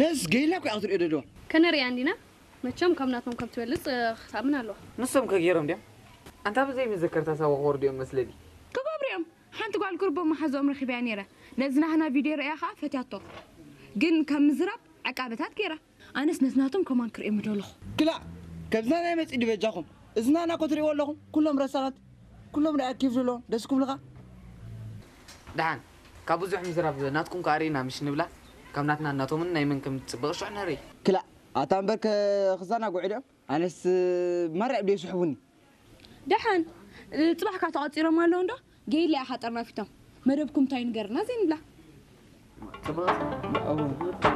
ነስ ገይላ እኮ ክትሪኦ ደለዋ። ከነሪኣ እንዲና። መቸም ካብ ናቶም ከም ትበልፅ ክትኣምን ኣለዋ። ንሶም ከገይሮም ድዮም? ኣንታ ብዘይ መዘከርታ ሳዋ ክወርዱ እዮም መስለኒ። ክገብሩ እዮም። ሓንቲ ጓል ቁርቦ መሓዝኦም ረኺበያ ነይረ። ነዚ ናህና ቪድዮ ርእያ ከዓ ፈትያቶ። ግን ካብ ምዝራብ ዕቃበታት ገይራ። ኣነስ ነዚ ናቶም ከማን ክርእዮም ምደለኹ። ክላ፣ ከብዝና ናይ መፅእ ድበጃኹም። እዝና ናኮ ትርእይዎ ኣለኹም። ኩሎም ረሳናት። ኩሎም ርኣያ ኬፍ ዘለዎም። ደስ ክብልኻ። ደሓን ካብ ብዙሕ ምዝራብ ናትኩም ከኣ ርኢና ምሽ ንብላ። ካብ ናትና ናቶምን ናይ መን ከም ትጽብቕ ሽዑ ንርኢ። ክላ፣ ኣታ እምበር ከ-፣ ክዘናግዑ ድዮም? ኣነስ ማርያ ድዮ ይስሕቡኒ። ደሓን ጽባሕካ ተቐጺሮም ኣለዉ እንዶ? ገይላ ኢኻ ጠርናፊቶም። መደብኩም እንታይ ንገርና ዘይንብላ። ጽብቕ